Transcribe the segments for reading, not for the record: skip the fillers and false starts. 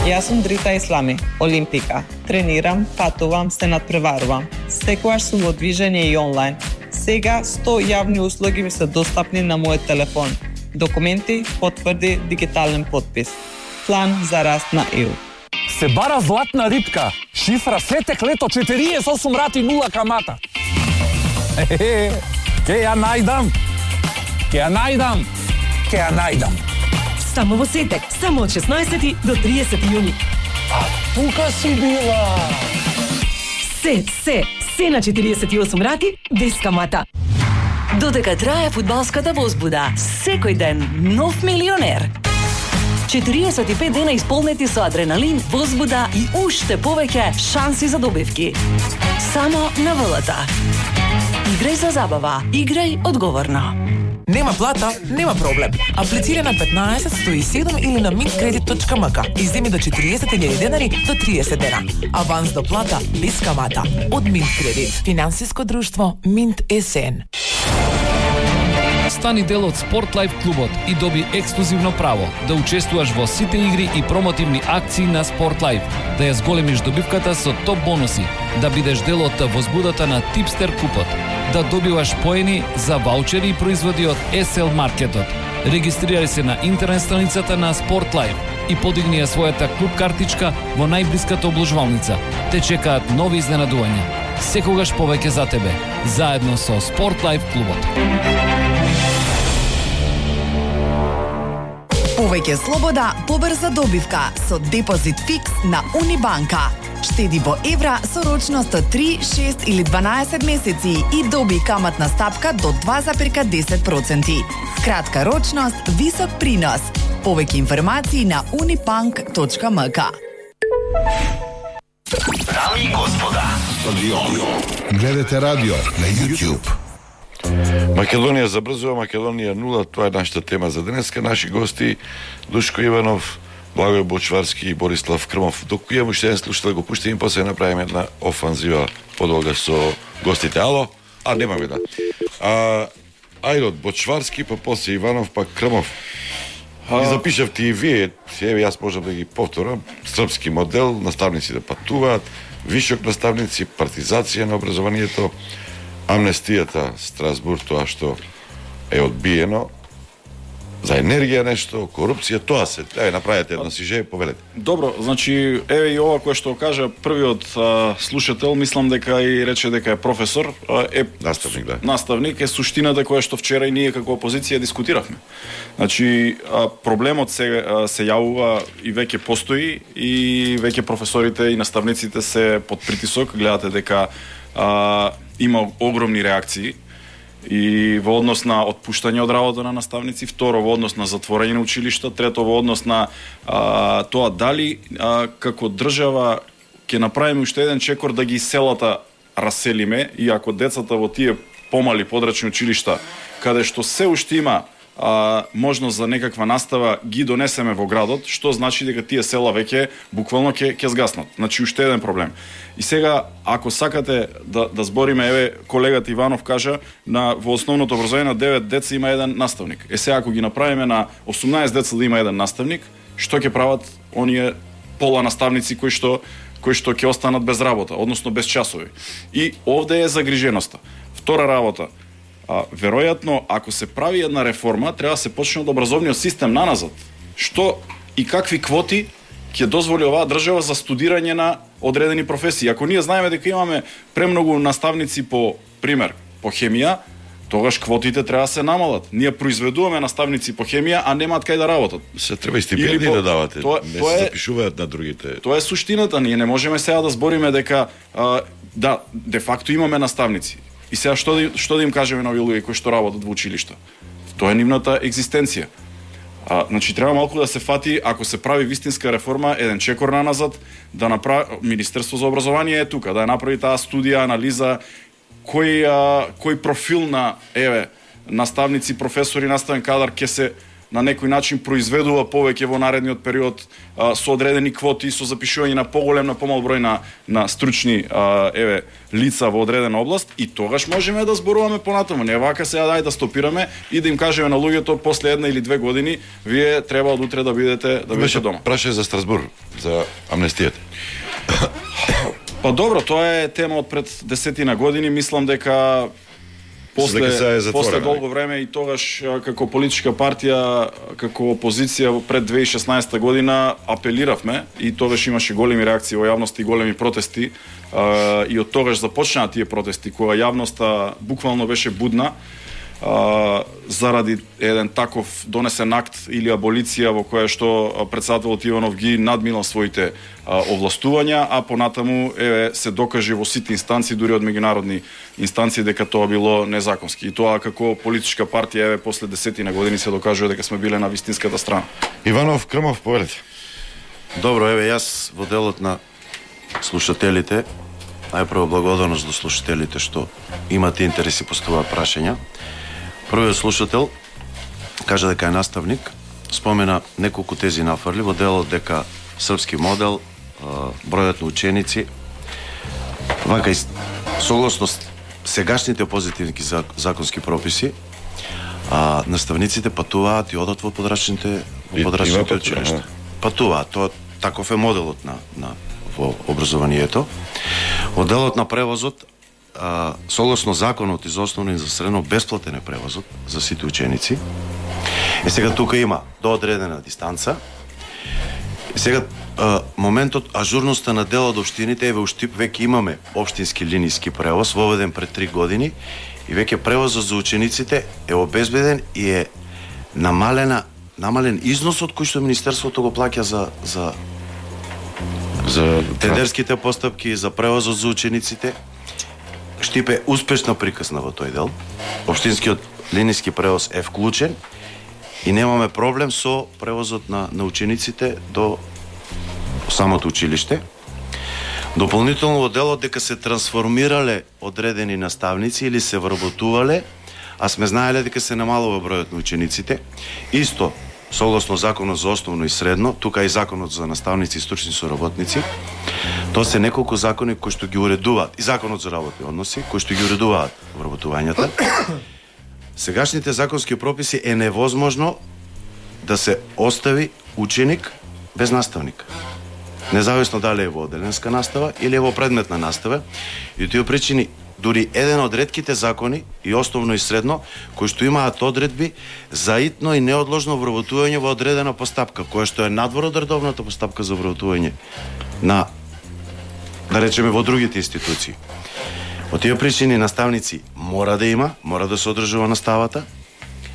Јас сум Дрита Ислами, олимпика. Тренирам, патувам, се надпреварувам. Секогаш сум во движење и онлайн. Сега 100 јавни услуги ми се достапни на мојот телефон. Документи, потврди, дигитален подпис. План за раст на ЕУ. Се бара златна рибка. Шифра сетек лето 48 рати 0 камата. Ке ја најдам. Само во сетек, само од 16 до 30 јуни. А тука си била. Се на 48 рати без камата. Додека трае фудбалската возбуда, секој ден нов милионер. 45 дена исполнети со адреналин, возбуда и уште повеќе шанси за добивки. Само на ВЛТ. Играј за забава, играј одговорно. Нема плата, нема проблем. Аплицира на 15 107 или на mintkredit.mk и земи до 40.000 денари до 30 дена. Аванс до плата без камата. Од Mintkredit. Финансиско друштво Mint СН. Стани дел од Sport Life клубот и доби ексклузивно право да учествуваш во сите игри и промотивни акции на Sport Life, да ја зголемиш добивката со топ бонуси, да бидеш дел од возбудата на Tipster купот, да добиваш поени за ваучери и производи од SL Маркетот. Регистрирај се на интернет страницата на Sport Life и подигни ја својата клуб картичка во најблиската обложувалница. Те чекаат нови изненадувања. Секогаш повеќе за тебе, заедно со Sport Life клубот. Повеќе слобода, побрза добивка со депозит фикс на Унибанка. Штеди во евра со рочност од 3, 6 или 12 месеци и доби каматна стапка до 2,10%. Кратка рочност, висок принос. Повеќе информации на unibank.mk. Дами и господа, гледате радио на YouTube. Македонија забрзува, Македонија 0, тоа е нашата тема за денеска. Наши гости Душко Иванов, Благој Бочварски и Борислав Крмов. Докато имам уште еден слушател, го пуштим и после направиме една офанзива подолга со гостите. Ало? Немаме да. Ајде, Бочварски, па после Иванов, па Крмов. И запишавте и вие, еве јас можам да ги повторам, српски модел, наставници да патуваат, вишок наставници, партизација на образованието, амнестијата, Страсбург, тоа што е одбиено, за енергија нешто, корупција, тоа се. Еве, направете едно сиже, повелете. Добро, значи, еве и ова кое што кажа првиот слушател, мислам дека и рече дека е професор, е наставник, да. Наставник е суштината која што вчера и ние како опозиција дискутиравме. Значи, проблемот се јавува и веќе постои и веќе професорите и наставниците се под притисок, гледате дека има огромни реакции и во однос на отпуштање од работа на наставници, второ во однос на затворање на училишта, трето во однос на тоа дали како држава ќе направиме уште еден чекор да ги селата раселиме, и ако децата во тие помали подрачни училишта каде што се уште има можност за некаква настава ги донесеме во градот, што значи дека тие села веќе буквално ќе згаснат. Значи уште еден проблем. И сега, ако сакате да збориме, еве колегата Иванов кажа, во основното образование на 9 деца има еден наставник. Сега ако ги направиме на 18 деца да има еден наставник, што ќе прават оние пола наставници кои што ќе останат без работа, односно без часови. И овде е загриженоста. Втора работа, веројатно, ако се прави една реформа, треба да се почне од образовниот систем наназад. Што и какви квоти ќе дозволи оваа држава за студирање на одредени професии. Ако ние знаеме дека имаме премногу наставници по пример по хемија, тогаш квотите треба да се намалат. Ние произведуваме наставници по хемија, а немаат кај да работат. Се треба и стипендии да давате, не се запишуваат на другите. Тоа е суштината. Ние не можеме сега да збориме дека де факто имаме наставници. И сега што да им кажеме на овие луѓе кои што работат во училишта? Тоа е нивната екзистенција. Значи треба малку да се фати, ако се прави вистинска реформа, еден чекор наназад, да направи Министерство за образование е тука, да ја направи таа студија, анализа, кој профил на наставници, професори, наставен кадар ќе се на некој начин произведува повеќе во наредниот период со одредени квоти, со запишување на поголем, на помал број на стручни лица во одредена област, и тогаш можеме да зборуваме понатаму. Не вака сега дај да стопираме и да им кажеме на луѓето после 1 или 2 години вие треба од утре да бидете дома. Прашање за Страсбург, за амнестијата. Па добро, тоа е тема од пред 10 години, мислам дека после долго време и тогаш како политичка партија, како опозиција пред 2016 година апелиравме и тогаш имаше големи реакции во јавност и големи протести и од тогаш започнаа тие протести кога јавноста буквално беше будна заради еден таков донесен акт или аболиција во која што претседателот Иванов ги надминал своите овластувања, а понатаму се докаже во сите инстанции, дури од меѓународни инстанции, дека тоа било незаконски. И тоа како политичка партија после 10 години се докажува дека сме биле на вистинската страна. Иванов, Крмов, повелете. Добро, јас во делот на слушателите, најпрво благодарност до слушателите што имате интереси по това прашања. Првиот слушател кажа дека е наставник, спомена неколку тези нафрли во делот дека српски модел, бројот на ученици, вака и согласно сегашните позитивни законски прописи, наставниците патуваат и одат во подрачните училишта. Патуваат, тоа таков е моделот во образованието. Во делот на превозот, согласно законот и за основно и за средно, бесплатен е превозот за сите ученици. И сега тука има до одредена дистанца. И сега моментот ажурноста на дел од општините, во Штип веќе имаме општински линиски превоз воведен пред 3 години и веќе превозот за учениците е обезбеден и е намален износот кој што министерството го плаќа за тендерските постапки, за превозот за учениците. Штип е успешно прикасна во тој дел. Општинскиот линиски превоз е вклучен и немаме проблем со превозот на учениците до самото училиште. Дополнително во делот дека се трансформирале одредени наставници или се вработувале, а сме знаеле дека се намалува бројот на учениците. Исто, согласно законот за основно и средно, тука и законот за наставници и стручни соработници, тоа се неколку закони кои што ги уредуваат, и законот за работни односи, кои што ги уредуваат вработувањата. Сегашните законски прописи е невозможно да се остави ученик без наставник. Независно дали е во одделенска настава или е во предметна настава. И тие причини, дури еден од ретките закони, и основно и средно, кои што имаат одредби за итно и неодложно вработување во одредена постапка, која што е надвор од редовната постапка за вработување на, да речеме, во другите институции. Во тие причини наставници мора да се одржува наставата.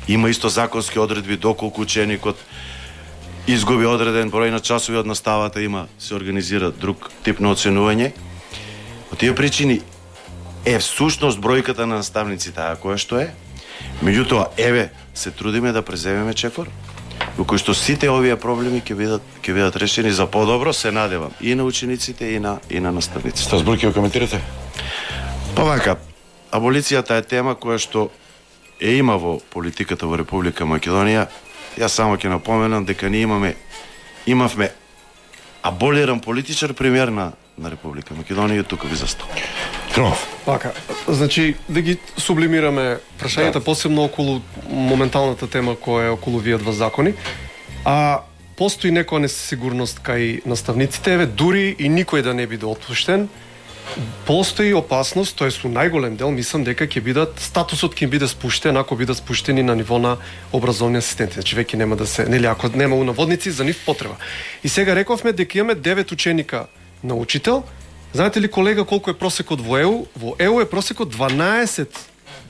Има исто законски одредби доколку ученикот изгуби одреден број на часови од наставата, се организира друг тип на оценување. Во тие причини е всушност бројката на наставници таа која што е. Меѓутоа, се трудиме да преземеме чекор, во кој што сите овие проблеми ќе бидат решени за подобро, се надевам, и на учениците, и на наставниците. Страсбург, ќе го коментирате? Па вака, аболицијата е тема која што има во политиката во Република Македонија. Јас само ќе напоменам дека ние имавме аболиран политичар премиер на Република Македонија, тука ви застал. Вака, значи да ги сублимираме прашањата посебно околу моменталната тема која е околу вие два закони. Постои некоја несигурност кај наставниците, дури и никој да не биде отпуштен. Постои опасност, тоа е со најголем дел, мислам дека ќе бидат статусот ќе биде спуштен ако бидат спуштени на ниво на образовни асистенти. Значи веќе нема да се, нели, ако нема унаводници за нив потреба. И сега рековме дека имаме 9 ученика на учител. Знаете ли, колега, колку е просекот во ЕУ? Во ЕУ е просекот 12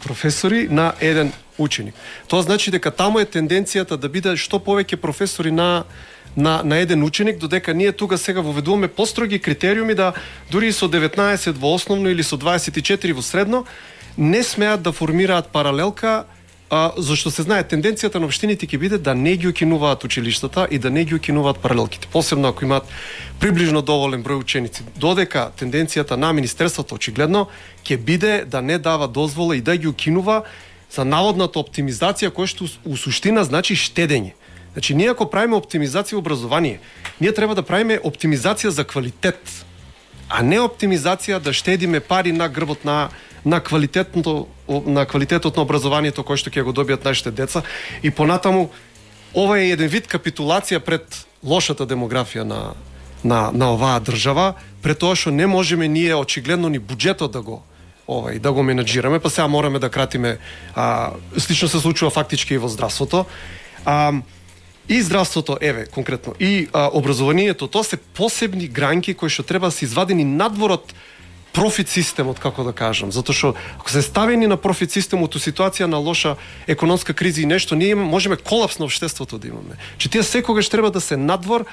професори на еден ученик. Тоа значи дека таму е тенденцијата да биде што повеќе професори на еден ученик, додека ние тука сега воведуваме построги критериуми да дури со 19 во основно или со 24 во средно не смеат да формираат паралелка, зашто се знае тенденцијата на општините ќе биде да не ги укинуваат училиштата и да не ги укинуваат паралелките. Посебно ако имаат приближно доволен број ученици. Додека тенденцијата на министерството очигледно ќе биде да не дава дозвола и да ги укинува за наводната оптимизација која што у суштина значи штедење. Значи ние ако правиме оптимизација образование, ние треба да правиме оптимизација за квалитет, а не оптимизација да штедиме пари на грбот на квалитетот на образованието кој што ќе го добијат нашите деца и понатаму ова е еден вид капитулација пред лошата демографија на оваа држава, пред тоа што не можеме ние очигледно ни буџетот да го менаџираме, па сега мораме да кратиме. Слично се случува фактички и во здравството. И здравството, конкретно, и образованието, тоа се посебни гранки кои што треба да се извадени надвор од профит системот, како да кажам. Затоа што ако се ставени на профит системот у ситуација на лоша економска криза и нешто, ние можеме колапс на општеството да имаме. Че тие секогаш треба да се надвор,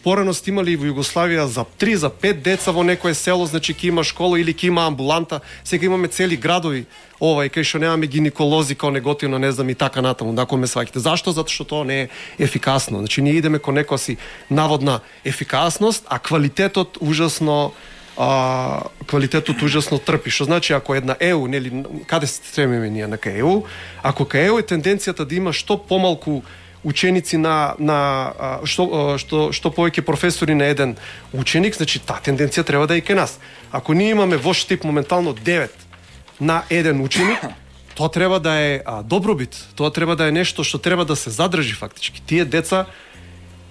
порано сте имали во Југославија за 3, за 5 деца во некое село, значи ќе има школа или ќе има амбуланта, сега имаме цели градови, кај што немаме гинеколози, као неготивно, не знам и така натаму, ако ме сваќате. Зашто? Затоа што тоа не е ефикасно. Значи ние идеме кон некоја си наводна ефикасност, а квалитетот ужасно трпи. Што значи ако една ЕУ, нели, каде се стремиме ние на ЕУ, ако кај ЕУ е тенденцијата да има што помалку ученици што повеќе професори на еден ученик, значи таа тенденција треба да е и кај нас. Ако ние имаме во Штип моментално 9 на еден ученик, тоа треба да е добробит, тоа треба да е нешто што треба да се задржи фактички. Тие деца,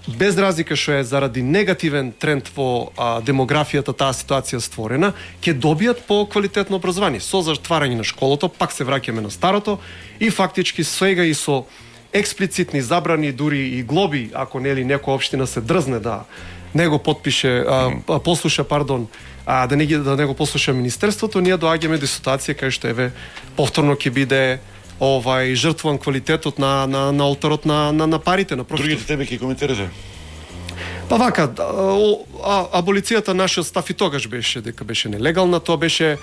без разлика што е заради негативен тренд во демографијата таа ситуација створена, ќе добијат по квалитетно образование. Со затварање на школото, пак се враќаме на старото и фактички сега и со експлицитни забрани, дури и глоби, ако нели некоја општина се дрзне да не го подпише, послуша, да не го послуша министерството, ние доаѓаме до ситуација кај што повторно ќе биде жртвуван квалитетот на олтарот на парите на профитот. Другите теми ќе коментирате? Па вака, аболицијата нашиот став и тогаш беше дека беше нелегална, тоа беше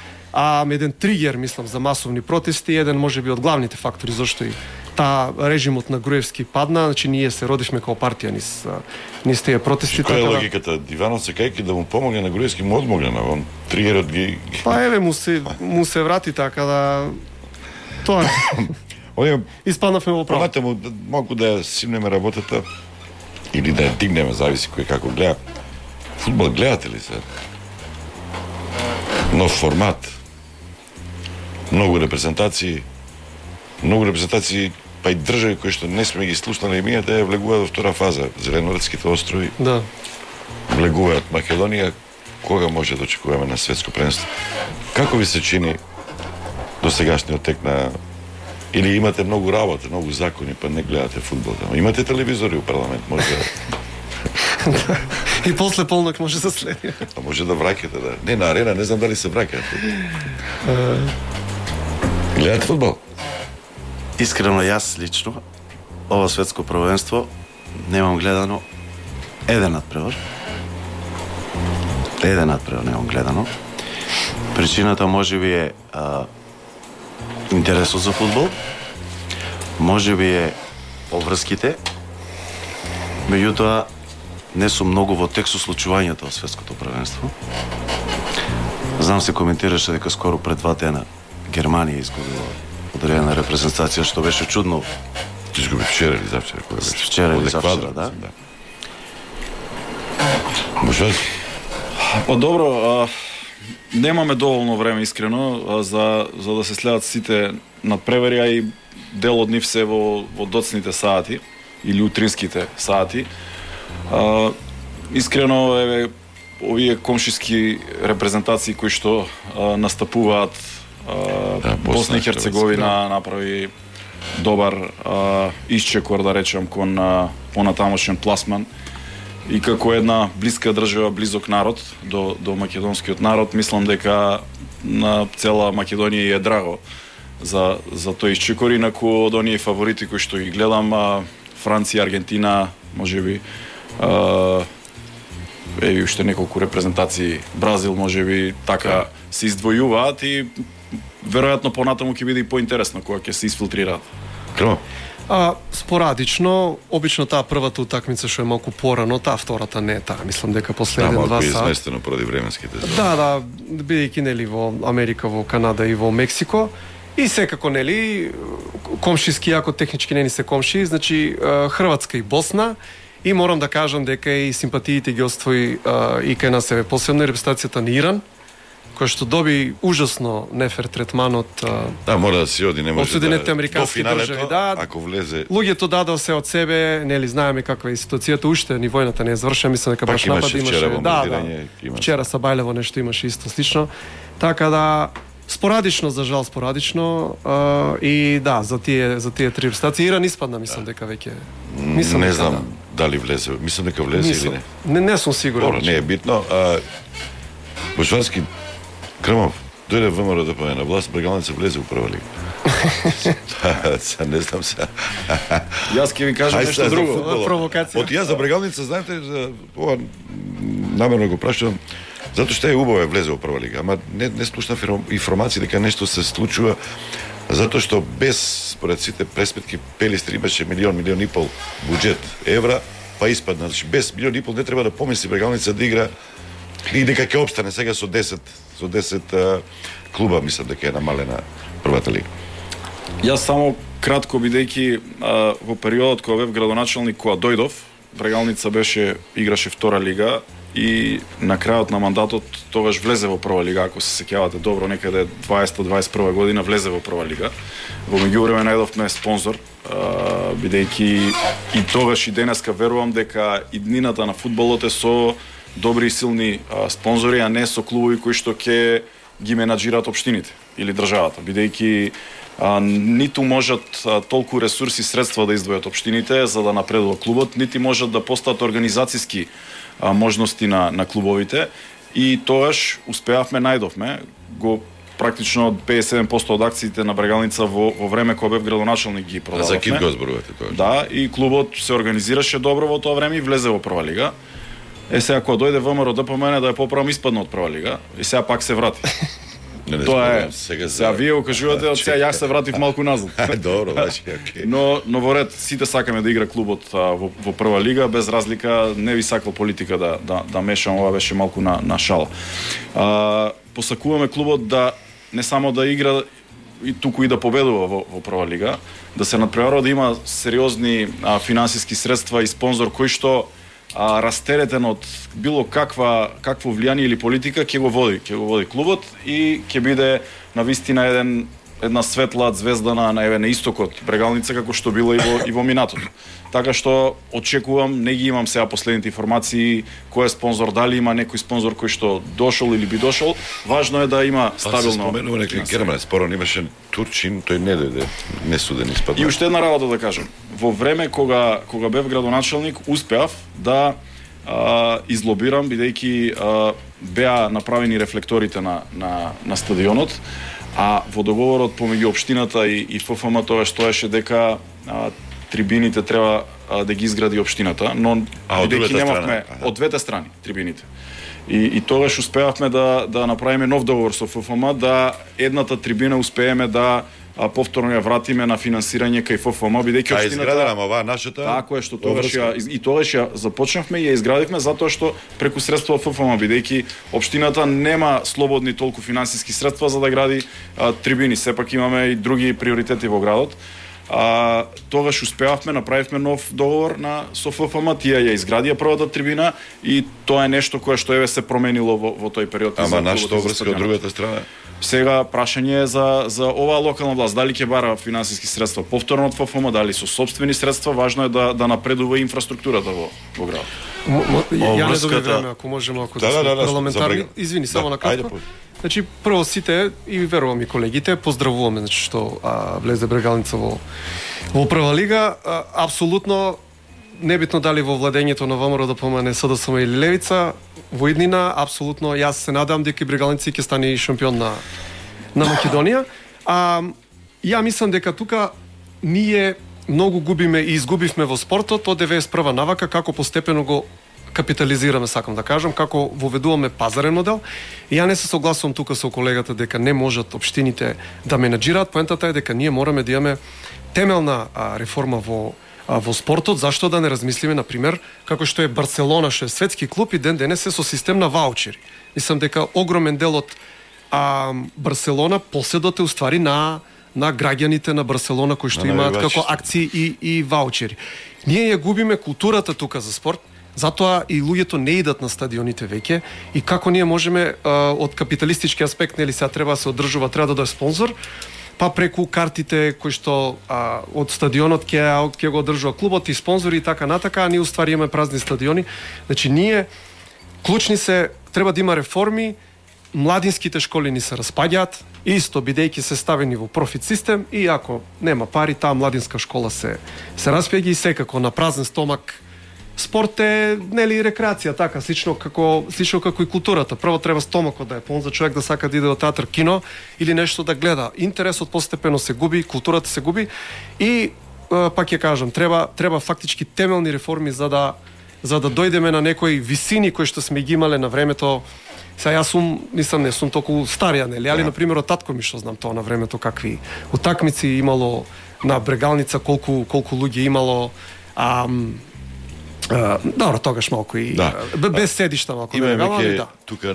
еден тригер, мислам, за масовни протести, еден можеби од главните фактори зашто и режимот на Груевски падна, значи ние се родивме како партија низ тие протести. Која е логиката? Диванов се кајки да му помогне на Груевски, му одмогне на он тригерот ги... Па му се врати така да... Тоа е. Испаднавме во право. Помате му малку да ја симнеме работата или да ја дигнеме, зависи кој како гледа. Фудбал гледате ли се? Нов формат. Многу репрезентации, па и држави кои што не сме ги слушнали мијата ја влегуваат во втора фаза. Зеленоградските острови. Да. Влегуваат Македонија. Кога може да очекуваме на светско првенство? Како ви се чини до сегашниот тек на... Или имате многу работа, многу закони, па не гледате фудбал. Имате телевизори у парламент, може да... И после полнок може да следи. А може да враќате, да. Не, на арена, не знам дали се враќате. Гледате фудбал? Искрено, јас лично, ова светско првенство, немам гледано еден надпревар. Немам гледано. Причината можеби е интересот за фудбал, можеби е обврските, меѓутоа не сум многу во тек со случувањето во светското првенство. Знам се коментираше дека скоро пред 2 дена Германија изгубила одредена репрезентација, што беше чудно. Изгуби вчера или завчера? Вчера или завчера, да. Може? Па добро, немаме доволно време искрено за да се следат сите надпревари, а и дел од нив се во доцните сати или утринските сати. Искрено овие комшиски репрезентации кои што настапуваат, Босна и Херцеговина направи добар исчекор, да речем, кон понатамошен пласман. И како една блиска држава, близок народ до македонскиот народ, мислам дека на цела Македонија е драго за тој исчекор. Инаку од оние фаворити кои што ги гледам, Франција, Аргентина, можеби уште неколку репрезентации, Бразил можеби така се издвојуваат и веројатно понатаму ќе биде и поинтересно кога ќе се изфилтрираат. Као? Спорадично, обично таа првата утакмица што е малку порано, таа втората не е таа. Мислам дека после 1-2 малку сат. изместено поради временските. Да, бидејќи нели во Америка, во Канада и во Мексико. И секако, нели, комшиски, ако технички не ни се комши, значи Хрватска и Босна, и морам да кажам дека и симпатиите ги оствои и кај нас е посебно репрезентацијата на Иран, кој што доби ужасно нефер третман од мора да си оди, не може Соединетите американски држави, ако влезе. Луѓето дадоа се од себе, нели знаеме каква е ситуацијата, уште ни војната не е завршена, мислам дека баш напад имаше. Вчера са Бајлево нешто имаше исто слично. Така да спорадично, за жал спорадично, и да, за тие три репрезентации Иран испадна, мислам дека веќе. Не знам дали влезе, мислам дека влезе или не. Не сум сигурен. Добро, не е битно. Бочварски, Крмов, дојде ВМРО да појде на власт, Брегалница влезе у прва лига. Не знам се. Јас ќе ви кажам нешто друго. Провокација. Од јас за Брегалница, знаете, ова намерно го прашувам, затоа што е убаво влезе у прва лига, ама не слушнав информации дека нешто се случува, затоа што без, според сите преспетки, Пелистри имаше милион и пол буџет евра, па испадна. Значи, без милион и пол не треба да помисли Брегалница да игра и дека ќе обстане сега со 10 клуба, мислам дека е намалена првата лига. Јас само кратко, бидејќи во периодот кога бев градоначалник, кога дојдов, Брегалница играше втора лига и на крајот на мандатот тогаш влезе во прва лига, ако се сеќавате добро, некаде 20-21 година влезе во прва лига. Во меѓувреме најдовме спонзор, бидејќи и тогаш и денеска верувам дека иднината на фудбалот е со добри и силни спонзори, а не со клубови кои што ќе ги менаџираат општините или државата, бидејќи ниту можат толку ресурси и средства да издвојат општините за да напредува клубот, нити можат да постаат организацијски можности на клубовите, и тогаш успеавме, најдовме го практично 57% од акциите на Брегалница во време кога бев градоначалник ги продававме. За Кит го зборувате тоа? Да, и клубот се организираше добро во тоа време и влезе во прва лига. Сега кога дојде ВМРО ДПМН да ја поправам, испадна од прва лига и сега пак се врати. Тоа е. Сега вие го кажувате, од сега јас се вратив малку назад. Добро, значи, окей. Но во ред сите сакаме да игра клубот во прва лига, без разлика, не ви сакал политика да мешам, ова беше малку на шала. Посакуваме клубот да не само да игра и туку и да победува во прва лига, да се надпреварува, да има сериозни финансиски средства и спонзор кој што растеретен од било какво влијание или политика ќе го води клубот и ќе биде навистина една светла звезда на истокот Брегалница, како што било и во минатото. Така што очекувам, не ги имам сега последните информации кој е спонзор, дали има некој спонзор кој што дошол или би дошол. Важно е да има стабилно. Се споменува некој Герман, спорно имаше Турчин, тој не дојде, не суден испадна. И уште една работа да кажам. Во време кога бев градоначалник, успеав да излобирам, бидејќи беа направени рефлекторите на стадионот, а во договорот помеѓу општината и ФФМ тоа стоеше дека трибините треба да ги изгради општината, но бидејќи немавме од двете страни трибините. И тогаш успеавме да направиме нов договор со ФФМ, да едната трибина успееме да повторно ја вратиме на финансирање кај ФФМ, бидејќи општината изградена оваа нашата. Така е, што тогаш ја започнавме и ја изградивме затоа што преку средства од ФФМ, бидејќи општината нема слободни толку финансиски средства за да гради трибини, сепак имаме и други приоритети во градот. Тогаш успеавме, направивме нов договор со ФФМ, тие ја изградија првата трибина и тоа е нешто кое што се променило во тој период. Ама нашата обврска од другата страна? Сега прашање е за оваа локална власт, дали ќе бара финансиски средства повторно од ФФМ, дали со сопствени средства, важно е да напредува инфраструктурата во градот. Ја не добре време, ако можеме, ако да сме парламентарни. Извини, само на кратко. Значи, прво сите, и верувам и колегите, поздравуваме, значи, што влезе Брегалница во прва лига. Апсолутно, небитно дали во владењето на ВМРО да помане СДСМ или Левица, во иднина, апсолутно, јас се надам дека Брегалница ќе стане и шампион на Македонија. Ја мислам дека тука ние многу губиме и изгубивме во спортот од 91 навака, како постепено го капитализираме, сакам да кажам, како воведуваме пазарен модел. И ја не се согласувам тука со колегата дека не можат општините да менаџираат. Поентата е дека ние мораме да имаме темелна реформа во спортот. Зашто да не размислиме, например, како што е Барселона, што е светски клуб и денес е со систем на ваучери. Мислам дека огромен дел од Барселона поседот е уствари на на граѓаните на Барселона кои што имаат како акции и ваучери. Ние ја губиме културата тука за спорт. Затоа и луѓето не идат на стадионите веќе и како ние можеме од капиталистички аспект, нели сега треба да се одржува, треба да дое спонзор, па преку картите кои што од стадионот ќе го одржува клубот и спонзори и така натака, а ние уствари имаме празни стадиони. Значи ние клучни се, треба да има реформи, младинските школи ни се распаѓаат, исто бидејќи се ставени во профит систем и ако нема пари, таа младинска школа се распаѓа и секако на празен стомак. Спорт е, нели, рекреација, така, слично како и културата. Прво треба стомакот да е полн за човек да сака да иде во театар, кино или нешто да гледа. Интересот постепено се губи, културата се губи и пак ќе кажам, треба фактички темелни реформи за да дојдеме на некои висини кои што сме ги имале на времето. Сега јас не сум толку старија, нели, али на пример од татко ми што знам тоа на времето какви утакмици имало на Брегалница, колку луѓе имало. Добро, тогаш малку и без седишта малку да веќе тука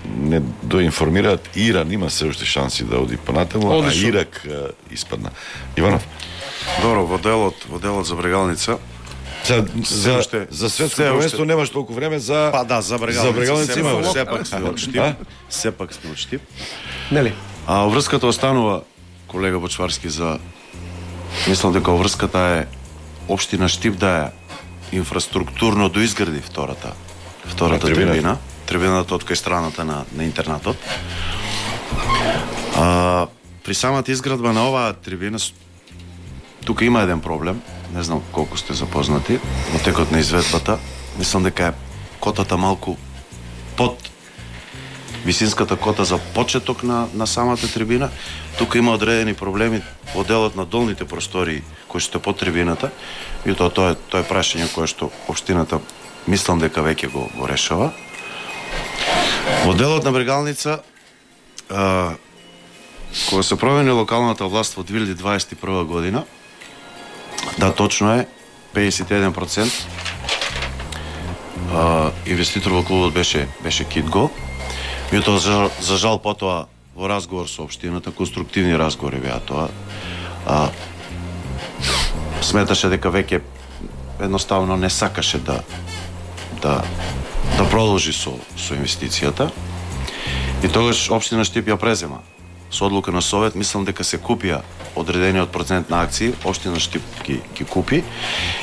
не доинформираат, Иран има се уште шанси да оди понатаму, а Ирак испадна. Иванов. Добро, во делот за Брегалница. За светско првенство немаш толку време за за Брегалница има сепак сме од Штип. Нели? А врската останува, колега Бочварски, за мислам дека врската е општина Штип да е инфраструктурно доизгради втората трибина. Трибината од кај страната на интернатот. При самата изградба на оваа трибина тука има еден проблем, не знам колку сте запознати, во текот на изведбата. Мислам дека е котата малку под висинската кота за почеток на самата трибина. Тука има одредени проблеми во делот на долните простории кои што под трибината и тоа е прашање кое што општината мислам дека веќе го решава. Во делот на Брегалница, кога се промени локалната власт во 2021 година, да, точно е, 51% инвеститор во клубот беше Китго. И тоа за жал потоа во разговор со општината, конструктивни разговори беа тоа, сметаше дека веќе едноставно не сакаше да продолжи со инвестицијата. И тогаш општина Штип ја презема. Со одлука на совет, мислам дека се купија одредениот процент на акции, општина Штип ги купи.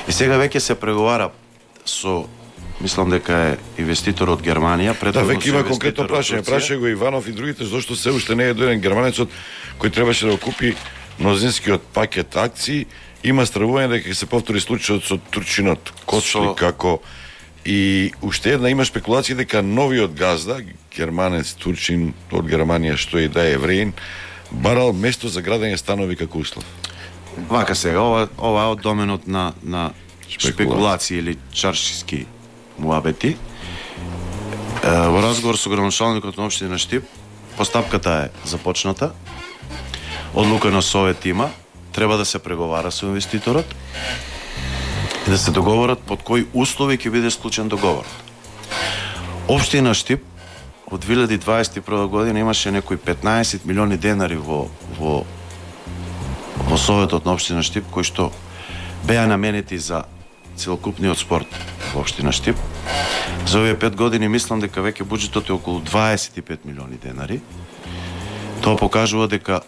И сега веќе се преговара со, мислам дека е инвеститор од Германија. Веќе има конкретно прашање. Праша го Иванов и другите, зашто се уште не е дојден германецот кој требаше да го купи мнозинскиот пакет акции. Има стравување дека ќе се повтори случајот со Турчинот, Коцли, како и уште една има спекулација дека новиот газда, германец Турчин од Германија, што и да е евреин, барал место за градење станови како услов. Вака сега, ова е од доменот на спекулации или чаршиски муабети. Во разговор со градоначалникот на општина Штип, постапката е започната, одлука на совет има, треба да се преговара со инвеститорот и да се договорат под кои услови ќе биде склучен договорот. Општина Штип од 2021 година имаше некои 15 милиони денари во советот на општина Штип, кои што беа наменети за целокупниот спорт во општина Штип. За овие 5 години мислам дека веќе буџетот е околу 25 милиони денари. Тоа покажува дека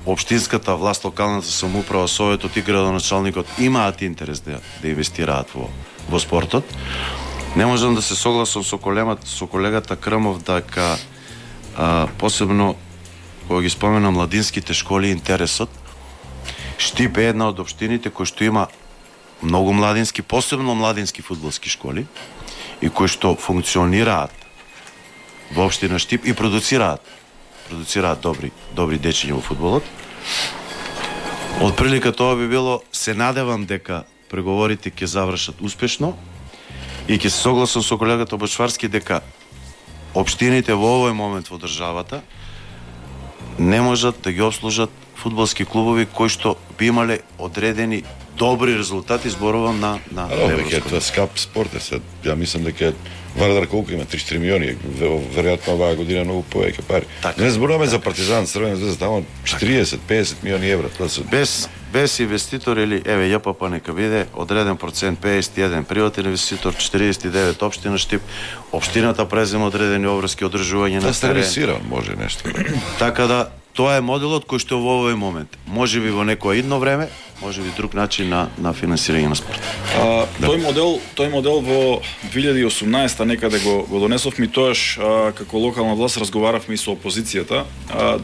општинската власт, локалната самоуправа, советот и градоначалникот имаат интерес да инвестираат во спортот. Не можам да се согласам со колегата Крмов дека посебно кога ги спомена младинските школи, интересот. Штип е една од општините кои што има многу младински, посебно младински фудбалски школи и кои што функционираат во општина Штип и продуцираат добри дечиња во фудбалот. Од прилика тоа би било, се надевам дека преговорите ќе завршат успешно и ќе се согласам со колегата Бочварски дека општините во овој момент во државата не можат да ги обслужат фудбалски клубови кои што би имале одредени добри резултати, зборувам на европско. Тоа скап спорт е се. Ја мислам дека Вардар колку има 3-4 милиони, веројатно оваа година многу повеќе пари. Не зборуваме за Партизан, Црвена звезда, таму 40-50 милиони евра, тоа се без инвеститор или еве ЈПП нека биде одреден процент 51 приватен инвеститор, 49 општина Штип, општината презема одредени обврски одржување на терен. Сервисиран може нешто. Така да тоа е моделот кој што во овој момент, можеби во некое идно време, можеби друг начин на финансирање на спорт. Тој модел во 2018 некаде го донесовме, тоаш како локална власт разговаравме и со опозицијата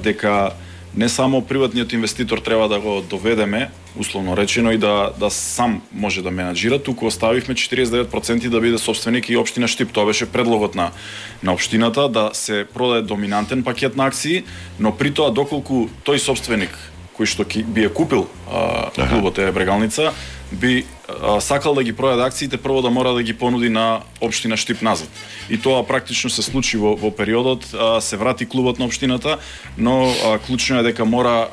дека не само приватниот инвеститор треба да го доведеме, условно речено, и да сам може да менаџира, туку оставивме 49% да биде собственик и општина Штип. Тоа беше предлогот на општината, да се продаде доминантен пакет на акции, но при тоа доколку тој собственик кој што би ја купил клубот Брегалница, би сакал да ги продаде акциите, прво да мора да ги понуди на општина Штип назад. И тоа практично се случи во периодот, се врати клубот на општината, но клучно е дека мора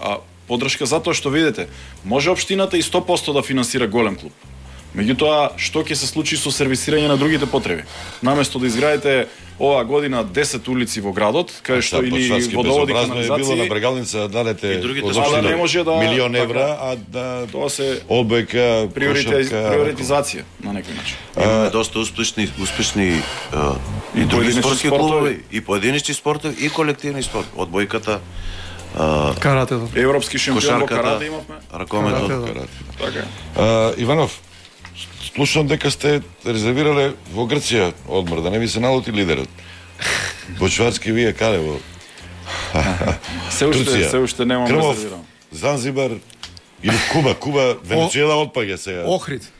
поддршка, затоа што видите, може општината и 100% да финансира голем клуб. Меѓутоа, што ќе се случи со сервисирање на другите потреби? Наместо да изградите оваа година 10 улици во градот, кај што или водоводи, канализација, било на Брегалница дадете не може да милион евра, а да тоа се обека приоритизација на некој начин. Имаме доста успешни и други спортски клубови, и поединечни спортови, и колективни спорт. Одбојката, каратето, европски шампион во карате имавме, ракометот. Така. Иванов, слушам дека сте резервирале во Грција одмор, да не ви се налути лидерот. Бочварски вие каде во? Се уште немам резервирано. Занзибар или Куба, Венецуела отпаѓа сега. Охрид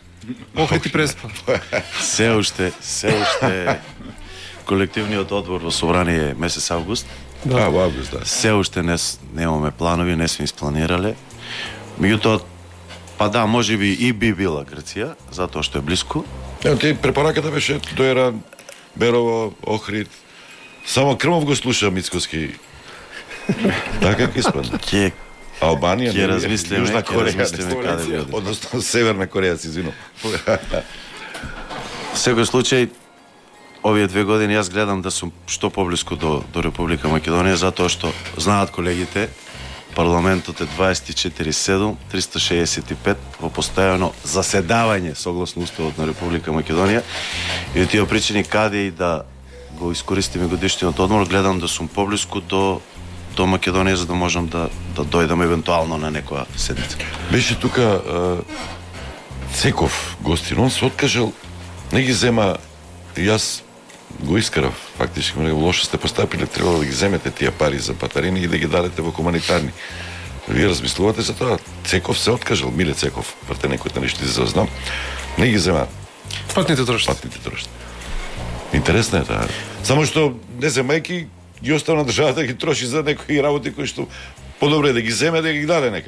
и Преспа. Се уште колективниот одбор во собрание месец август. Да, во август, да. Се уште немаме планови, не сме испланирале. Меѓутоа, па да, можеби и би била Грција, затоа што е блиску. Ти препораката беше Доера, Берово, Охрид. Само Крмов го слуша Мицкоски. Така како испадна. Албанија, ќе размислиме, Јужна Кореја, каде би оди. Односно Северна Кореја, си извинувам. Секој случај, овие 2 години јас гледам да сум што поблиску до Република Македонија, затоа што знаат колегите, парламентот е 24/7, 365 во постојано заседавање согласно уставот на Република Македонија, и тие причини каде и да го искористиме годишниот одмор, гледам да сум поблиску до Македонија, за да можам да дојдам евентуално на некоја седница. Беше тука Цеков гостин, он се откажал, не ги зема, јас го искарав, фактички многу лошо сте постапиле, требало да ги земете тие пари за батарини и да ги дадете во хуманитарни. Вие размислувате за тоа. Цеков се откажал, Миле Цеков, врте некој да нешто да знам, не ги зема патните трошци. Интересно е тоа. Само што не земајки ги оставна државата да ги троши за некои работи кои што подобро е да ги земе, да ги даде нека.